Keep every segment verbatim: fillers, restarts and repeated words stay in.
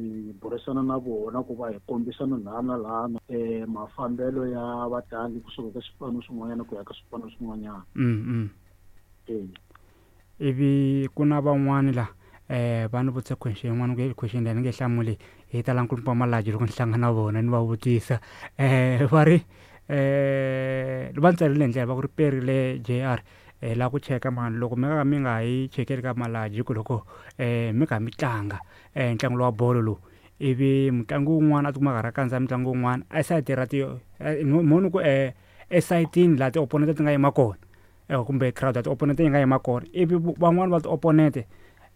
Hi burisana na vona ku va hi kombisana laha na laha um mafambelo ya vatlangi kusuka ka swipano swin'wanyana ku ya ka swipano swin'wanyana. Mm, mm. E Ivi ku na van'wani la eh va ni vutise question yin'wana ku question leyi ni nge hlamuli hi ta la nkulukumba Malaji loko ni hlangana na vona ni va vutisa. eh va ri eh va ni tsalele hi ndlela va ku ri perile J R eh la ku cheka mani loko mi nga mi nga yi chekeli ka Malaji ku loko eh mi kha mi tlanga eh ntlangu lowa bolo lowu ivi mutlangi wun'wana a tikuma a karhi a kandziya mutlangi wun'wana a sayiti ra ti mo ni ku eh esayitini laha ti-opponent ti nga yima kona eh kumbe crowd ya ti-opponent yi nga yima kona ivi van'wani va ti-opponent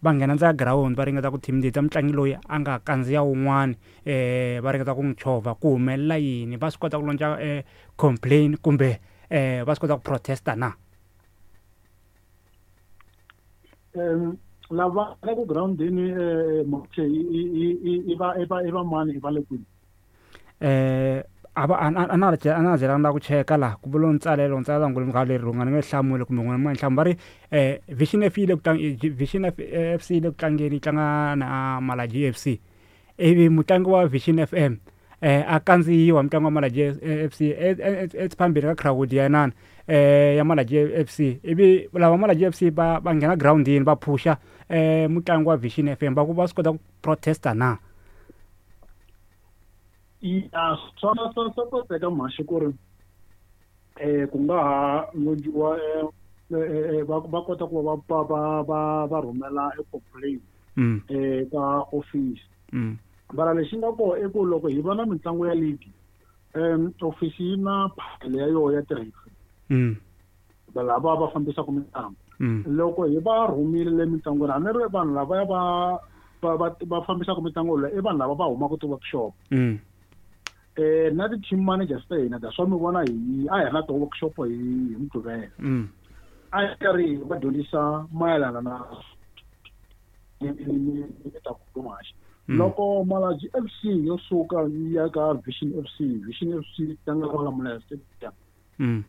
va nghena ndzeni ka ground va ringeta ku intimidate mutlangi loyi a nga kandziya wun'wani eh va ringeta ku n'wi chovha ku humelela yini va swi kota ku launch eh complain kumbe eh va swi kota ku protesta na? um lava nga ku groundini um i va i va i va mani i va le kwini? eh a va a na a na byela na ku cheka laha ku vula ntsalelo ntsalela ngulu nga leri nga ni nge hlamuli kumbe n'wina ma nhlamu va ri eh Vision F yi le ku tlang Vision F F C yi le ku tlangeni yi tlanga na Malaji F C ivi mutlangi wa Vision F M eh a kandziyiwa mutlangi wa Malaji F C ephambili ka crowd ya inani eh ya Malaji F C ivi lava Malaji F C va va nghena groundini va phusha eh mutlangi wa Vision F M va ku va swi kota ku protesta na? Ya swa swa swa koteka mhaxi ku ri um ku nga ha lonjiwa um va va kota ku va va va va va rhumela e complaint Mm. um ka office. Mm. Mara lexi nga kona i ku loko hi va na mitlangu ya league um office yi na phakelo ya yona ya ti-referee Mm. lava va fambisaka mitlangu. Mm. Loko hi va rhumile le mitlangwini a ni ri vanhu lavaya va va va va fambisaka mitlangu leyi i vanhu lava va humaka ti-workshop. Mm. Eh na ti-team managers ta hina da swa mi vona hi a hi ri na ti-workshop hi hi Mugqivela. Mm. A hi karhi hi va dyondzisa mayelana na ta ku Mm. Loko Malaji F C yo suka yi ya ka Vision F C, Vision F C yi tlanga Malamulele Stadium. Mm.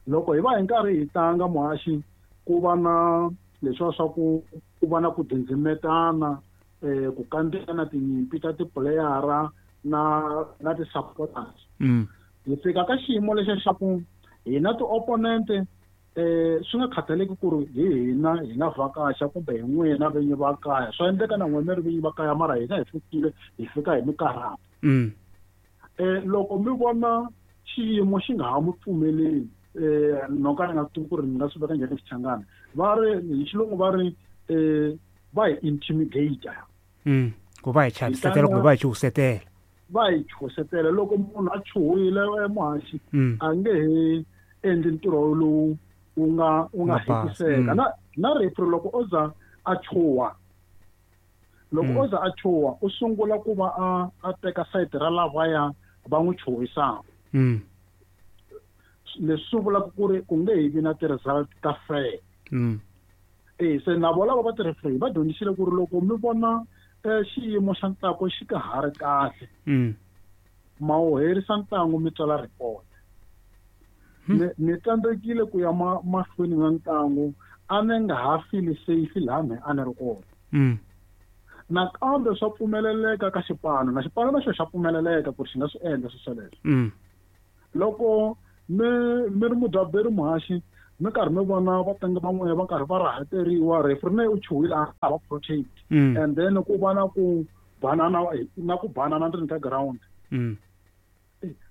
Loko hi va hi nkarhi hi tlanga muhaxi ku va na leswiya swa ku ku va na ku dzindzimetana eh ku kandziyana tinyimpi ta tipuleyara na na ti-supporters. Mm. Hi fika ka xiyimo lexiya xa ku hina ti-opponent eh swi nga khathaleki ku ri hi hina hi nga vhakacha kumbe hi n'wina vinyi va kaya swa endleka na n'wina mi ri vinyi va kaya mara hina hi fikile hi fika hi minkarhi. Mm. Eh loko mi vona xiyimo xi nga ha mi pfumeleli eh no ka ni nga tivi ku ri ni nga swi veka njhani Xichangani va ri hi xilungu va ri eh va hi intimidate. Mm. Ku va hi chavisetela kumbe va hi chuhisetela. Va hi chuhisetela loko munhu a chuhile muhaxi Mm. a nge he endli ntirho lowu wu nga wu nga Nga pasi. hetiseka. Mm. Na na referee loko o za a chuha loko Mm. o za a chuha u sungula ku va a a teka sayiti ra lavaya va n'wi chuhisaka. Mm. Leswi swi vulaka ku ri ku nge he vi na ti-result ta fair. Mm. Eh se na vona lava va ti-referee va dyondzisile ku ri loko mi vona eh xiyimo xa ntlangu xi ka ha ri kahle Mm. ma wu herisa ntlangu mi tsala report. Hmm. Ni ni tsandzekile ku ya ma mahlweni na ntlangu a ni nga ha feel safe laha mehe a ni ri kona. Mm. Nakambe swa pfumeleleka ka xipano na xipano na xona xa pfumeleleka ku ri xi nga swi endla swilo sweleswo. Mm. Loko mi mi ri mudyaberi muhaxi mi karhi mi vona vatlangi van'wana va karhi va rahateriwa referee na u chuhile a va protect. Mm. And then ku va na ku banana na ku banana ndzeni ka ground. Mm.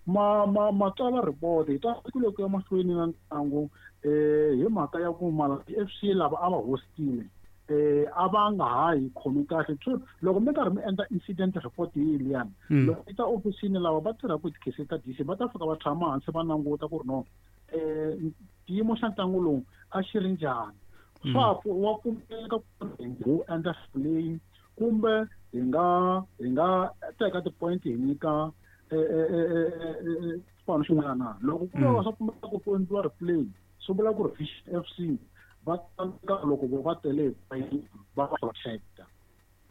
Ma ma ma tsala report hi tsandzekile ku ya mahlweni na ntlangu eh hi mhaka ya ku Malaji F C lava a va hostile eh a va nga ha hi khomi kahle. So loko mi karhi mi endla incident report yi liyani Mm. loko yi ta ofisini lava va tirhaka hi tikhese ta D C va ta fika va tshama hansi va languta ku ri no eh xiyimo xa ntlangu lowu a xi ri njhani. Mm. Swa wa pfumeleka ku ri hi wu endla leyi kumbe hi nga hi nga teka ti-point hi nyika xipano xin'wana na. Loko ku Mm. va swa pfumeleka ku endliwa replay swi vula ku ri Vision F C va tsandzeka loko vo va tele va va protecta.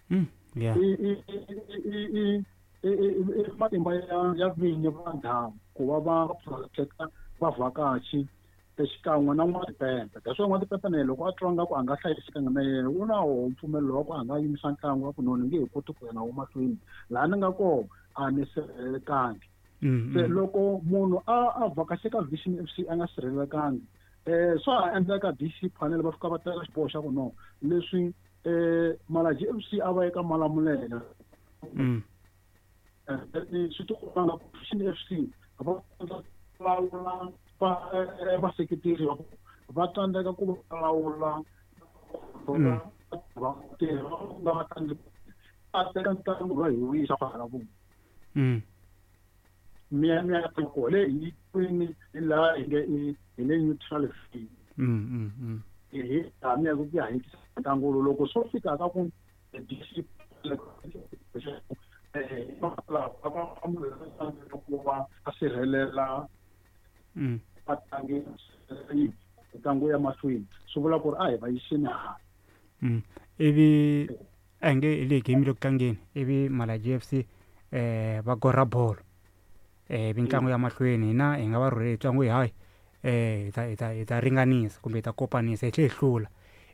Mm. Yeah. I i i i i i matimba ya ya vinyi va ndhawu ku va va protecta vavhakachi Xikan'we na n'watipempe that's why n'watipempe na yena loko a twa nga ku a nga hlayisekanga na yena u na woho mpfumelelo wa ku a nga yimisa ntlangu wa ku no ni nge he koti ku ya na wo mahlweni laha ni nga kona a ni sirhelelekangi. Se loko munhu a a vhakache ka Vision F C a nga sirhelelekangi eh swa ha endleka D C panel va fika va teka xiboho xa ku no leswi eh Malaji F C a va eka Malamulele swi ti komba nga ku Vision F C va lawula va vaseketeri va va tsandzeka ku lawula vatirhi va vatlangi va teka ntlangu va hi wisa kwala vona. Miya miya tiko le hi kwini hi laha hi nge hi le neutral fee. Hi laha mi ya ku ya hi ntlangu lowu loko swo fika ka ku D C ku va a sirhelela vatlangi ntlangu ya mahlweni swi vula ku ri a hi va yiseni hala. Ivi a nge hi le game le ku tlangeni ivi Malaji F C eh va gora bolo eh mitlangu ya mahlweni hina hi nga va rhurheli ntlangu hi hayi eh hi ta hi ta hi ta ringanisa kumbe hi ta kopanisa hi tlhe hi hlula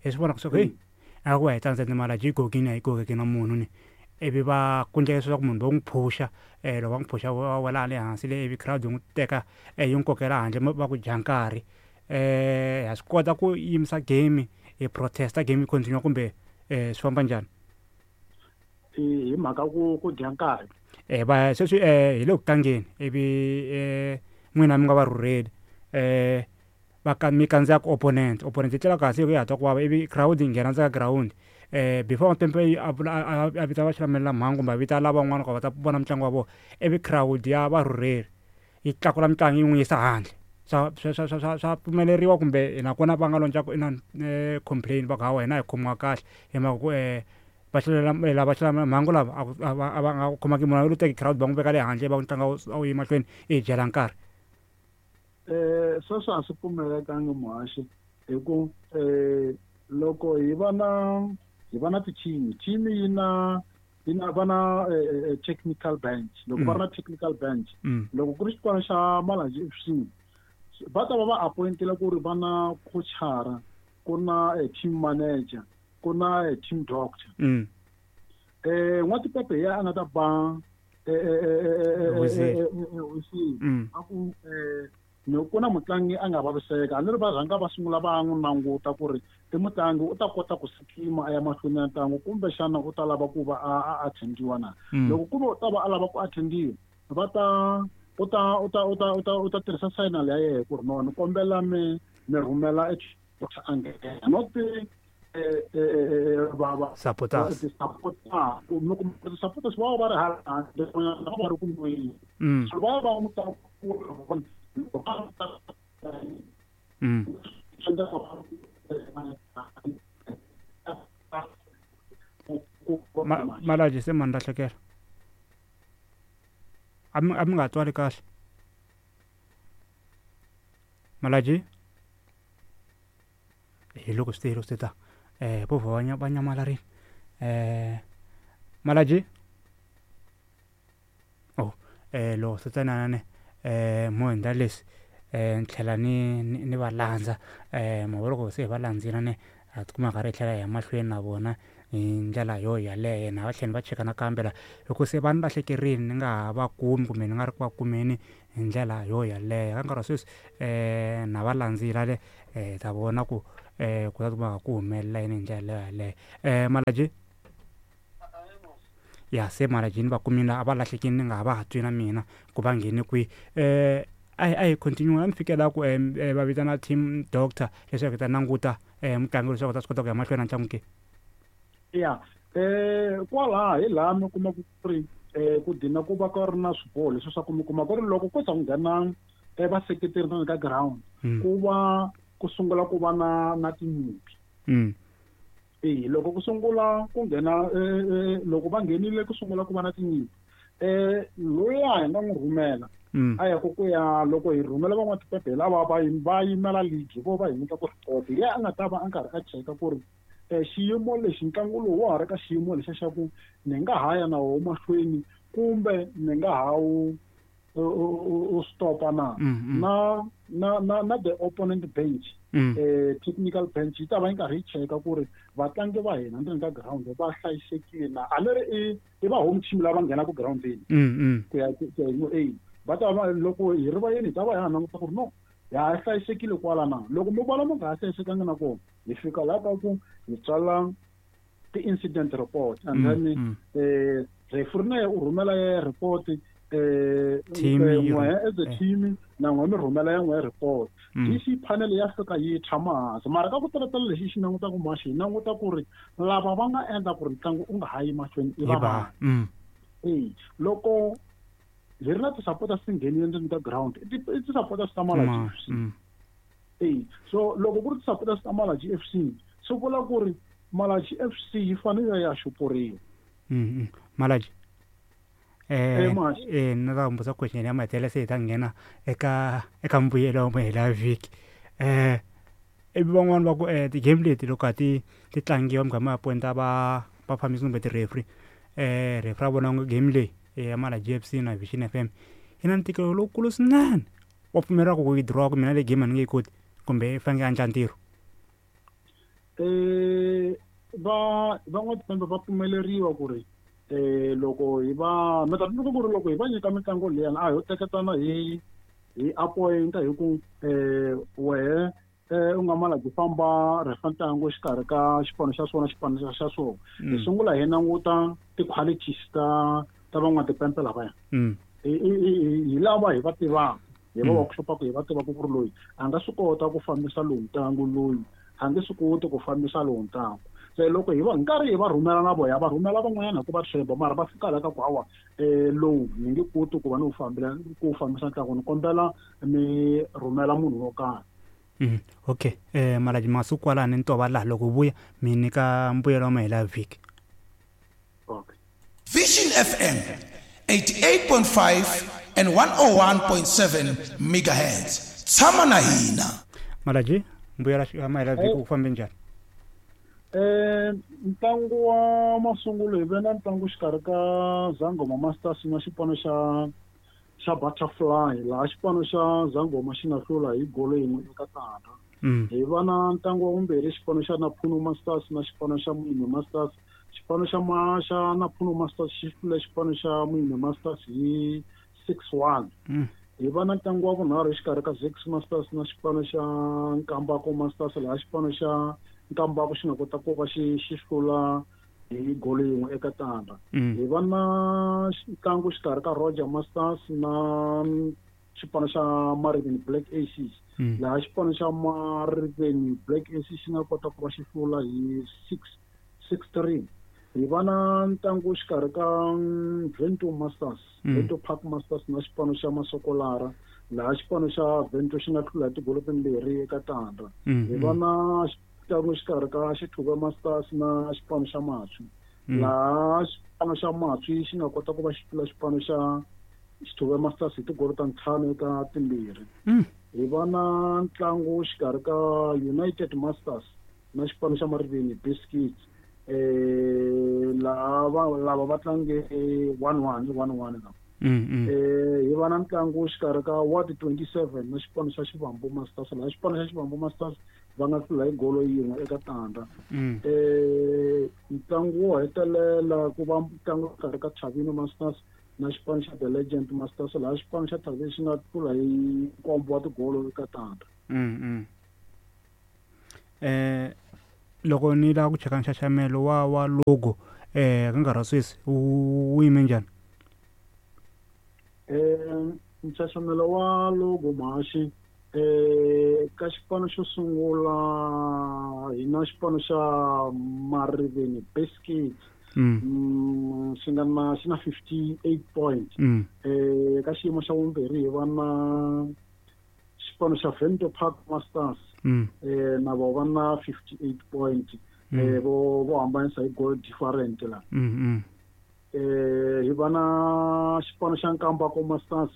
hi swi vona ku hey a ku va hi tsandzeni Malaji yi gogini a yi gogeki na munhu ni ivi va ku endleka leswaku munhu va n'wi phusha eh loko va n'wi phusha va wela le hansi le ivi crowd yi n'wi teka yi n'wi kokela handle va ku dya nkarhi eh ha swi kota ku yimisa game hi protesta game yi continue kumbe eh swi famba njhani hi mhaka ku ku dya nkarhi eh va sweswi eh hi le ku tlangeni ivi eh n'wina mi nga va rhurheli eh va ka mi kandziya ku opponent opponent yi tlela kahle yi ya twa ku vava ivi crowd yi nghena ndzeni ka ground eh before Tempe a a vita va xilamulela mhangu kumbe a vita lavan'wana ku va ta vona mitlangu wa vona ivi crowd ya varhurheli yi tlakula mitlangu yi n'wi yisa handle swa swa swa swa swa pfumeleriwa kumbe nakona va nga lonca ku inani complain va ku hawa hina hi khomiwa kahle hi mhaka ku eh va xilamulela lava xilamulela mhangu lava a va a va nga khomaki munhu lo teki crowd va n'wi veka le handle va ntlangu a wu yi mahlweni i dyela nkarhi. Eh sweswo a swi pfumelekangi muhaxi hi ku eh loko hi va na hi va na ti-team team yi na yi na va na technical bench loko va ri na technical bench loko ku ri xipano xa Malaji F C va ta va va appointile ku ri va na coachara ku na team manager ku na team doctor. Eh n'watipepe hi yena a nga ta ba whistle a ku eh ku na mutlangi a nga vaviseka a ni ri va rhanga va sungula va n'wi languta ku ri i mutlangi u ta kota ku sikima a ya mahlweni ya ntlangu kumbexana u ta lava ku va a attendiwa na loko ku ve u ta va a lava ku attendiwa va ta u ta u ta u ta u ta u ta tirhisa signal ya yena ku ri no ni kombela mi mi rhumela doctor a nghena not va va supporters supporters mi kuma supporters va va ri hala handle va va ri ku nweni so va va n'wi ta ku Mm. Malaji se mani lahlekela a mi a mi nga twali kahle Malaji hi loko swi te swi ta eh vo va va nyamalarile eh Malaji oh eh loko swi tsanana eh mo endla leswi eh ni tlhela ni ni va landza eh mo loko se hi va landzile ne ha tikuma karhi hi tlhela hi ya mahlweni na vona hi ndlela yo yaleyo na va tlhela va cheka nakambe la hi ku se va ni lahlekerile ni nga ha va kumi kumbe ni nga ri ku va kumeni hi ndlela yo yaleyo ka nkarhi wa sweswi eh na va landzile le eh ta vona ku eh ku ta tikuma ku humelela yini hi ndlela yo yaleyo eh Malaji ya se Malaji ni va kumile a va lahlekile ni nga ha va ha twi na mina ku va nghene kwihi eh a hi a hi continue a mi fikela ku va vitana team doctor leswaku hi ta languta eh mutlangi leswaku ta swi kota ku ya mahlweni na ntlangu ke ya eh kwalaha hi laha mi kuma ku ri eh ku dina ku va ka ri na swiboho leswi swa ku mi kuma ku ri loko ko za ku nghena vaseketeri ndzeni ka ground ku va ku sungula ku va na na tinyimpi. E loko ku sungula ku nghena loko va nghenile ku sungula ku va na tinyimpi eh loyi hi nga n'wi rhumela a ya ku ku ya loko hi rhumela van'watipepe lava va va yimela league vo va hi nyika ku report ya a nga ta va a karhi a cheka ku ri eh xiyimo lexi ntlangu lowu wa ha ri ka xiyimo lexa xa ku ni nga ha ya na wo mahlweni kumbe ni nga ha wu u stopa na na na na na the opponent bench eh technical bench yi ta va yi karhi yi cheka ku ri vatlangi va hina ndzeni ka ground va hlayisekile na a ni ri i i va home team lava nghenaka groundini ku ya ku ya hi va ta va loko hi ri vayeni hi ta va hi ha languta ku ri no ya ha hlayisekile kwala na loko mo vona mo nga ha hlayisekanga na kona hi fika laha ka ku hi tsala ti-incident report and then eh referee na ye u rhumela ye report eh n'we as a team na n'we mi rhumela ya n'we report D C panel ya fika yi tshama hansi mara ka ku talatala lexi xi langutaka maxi hi languta ku ri lava va nga endla ku ri ntlangu u nga ha yi mahlweni i va mani e loko hi ri na ti-supporters ti nghenile ndzeni ka ground i ti-supporters ta Malaji F C e so loko ku ri ti-supporters ta Malaji F C swi vula ku ri Malaji F C yi fanele ya xupuriwa. Malaji eh eh na ta humbusa question ya mahetelela se hi ta nghena eka eka mbuyelo wa mahela vhiki eh ivi van'wani va ku eh ti-game leti loko a ti ti tlangiwa mugama ya pointa va va fambisi kumbe ti-referee eh referee a vona game leyi ya Malaji F C na Vision F M yi na ntikelo lowukulu swinene wa pfumeleriwa ku yi dirowa ku mina le game a ni nge yi koti kumbe i fanekele a endla ntirho eh va van'watipembe va pfumeleriwa ku ri eh loko hi va mi ta tsundzuka ku ri loko hi va nyika mitlangu liyani a ho teketana hi hi appointa hi ku eh wehe eh u nga Malaji famba refa ntlangu exikarhi ka xipano xa swona xipano xa swona hi sungula hi languta ti-qualities ta ta van'watipempe lavaya hi lava hi va tivaka hi va workshopaka hi va tivaka ku ri loyi a nga swi kota ku fambisa lowu ntlangu loyi a nge swi koti ku fambisa lowu ntlangu se loko hi va nkarhi hi va rhumela na vona va rhumela van'wanyana hi ku va tshemba mara va fika laha ka ku hawa um lowu ni nge koti ku va ni wu fambela ku fambisa ntlangu ni kombela mi rhumela munhu wo karhi. Mm, okay eh Malaji masiku kwalani ni tova laha loko vuya mi nyika mbuyelo wa mahela vhiki. Okay. Vision F M eighty-eight point five and one oh one point seven megahertz. Tshama na hina. Malaji mbuyelo wa mahela vhiki ku fambe njhani? Eh ntlangu wa masungulo hi ve na ntlangu xikarhi ka Zangoma Masters na xipano xa xa Butterfly laha xipano xa Zangoma xi nga hlula hi golo yin'we eka tandza. Hi va na ntlangu wa vumbirhi xipano xa Naphuno Masters na xipano xa Muime Masters. Xipano xa ma xa Naphuno Masters xi hlule xipano xa Muime Masters hi six one. Hi va na ntlangu wa vunharhu exikarhi ka Zex Masters na xipano xa Nkambako Masters laha xipano xa Nkambako xi nga kota ku va xi xi hlula hi golo yin'we eka tandza. Hi va na ntlangu xikarhi ka Roger Masters na xipano xa Mariveni Black Aces laha xipano xa Mariveni Black Aces xi nga kota ku va xi hlula hi six six three. Hi va na ntlangu xikarhi ka Vento Masters Vento Park Masters na xipano xa Masokolara laha xipano xa Vento xi nga hlula hi tigolo timbirhi eka tandza. Hi va na ntlangu xikarhi ka Xithuva Masters na xipano xa Matswi laha xipano xa Matswi xi nga kota ku va xi hlula xipano xa Xithuva Masters hi tigolo ta ntlhanu eka timbirhi. Hi va na ntlangu xikarhi ka United Masters na xipano xa Mariveni Biscuits eh lava lava va tlange one one one one la. Eh hi va na ntlangu xikarhi ka Ward twenty-seven na xipano xa Xivambu Masters laha xipano xa Xivambu Masters va nga hlula hi golo yin'we eka tandza. Eh ntlangu wo hetelela ku va ntlangu xikarhi ka Chavino Masters na xipano xa The Legend Masters laha xipano xa Chavino xi nga hlula hi nkombo wa tigolo eka tandza. Eh loko ni lava ku cheka nxaxamelo wa wa logo eh ka nkarhi wa sweswi wu yime njhani? Eh nxaxamelo wa logo mahaxi eh ka xipano xo sungula hi na xipano xa Mariveni Biscuits xi nga na xi na fifty-eight points. Eh ka xiyimo xa vumbirhi hi va na xipano xa Vento Park Masters eh na vo va na fifty-eight points eh vo vo hambanisa hi goal different la. Eh hi va na xipano xa Nkambako Masters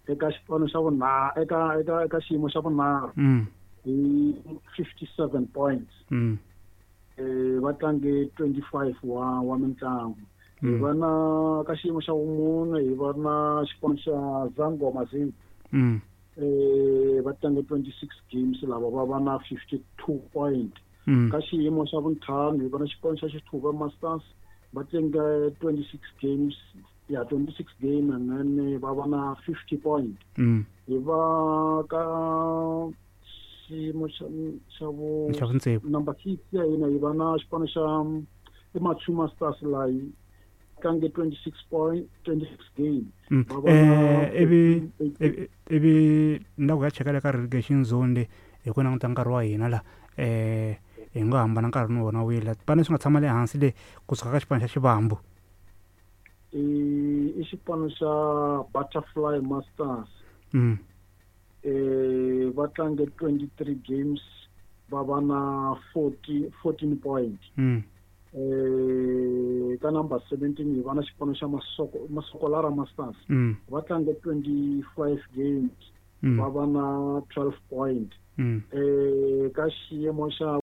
eka xipano xa vunharhu eka eka eka xiyimo xa vunharhu hi fifty-seven points. Eh va tlange twenty-five wa wa mintlangu. Hi Mm. va na ka xiyimo xa vumune hi va na xipano xa Zangoma Z. Mm. Eh va tlange twenty-six games, lava va va na fifty-two point. Mm. Ka xiyimo xa vuntlhanu hi va na xipano xa Xithuva Masters, va tlange twenty-six games, ya twenty-six game, and then va va na fifty point. Mm. Hi va ka xiyimo xa xa vu Xa vutsevu. Number six ya hina hi va na xipano xa i Machu Masters, la yi tlange twenty-six point twenty-six game. Mm. Va va na Eh ivi fourteen. ivi ivi ni ku ya cheka le ka relegation zone le, hi ku languta nkarhi wa hina la, eh hi ngo hambana nkarhi ni wona wile xipano leswi nga tshama le hansi le kusuka ka xipano xa Xivambu. I i xipano xa Butterfly Masters. Mm. Eh va tlange twenty-three games, va va na forty fourteen point. Mm. Eh ka number seventeen hi va na xipano xa Masoko Masokolara Masters. Mm. Va tlange twenty-five games, Mm. va va na twelve point. Mm. Eh ka xiyimo xa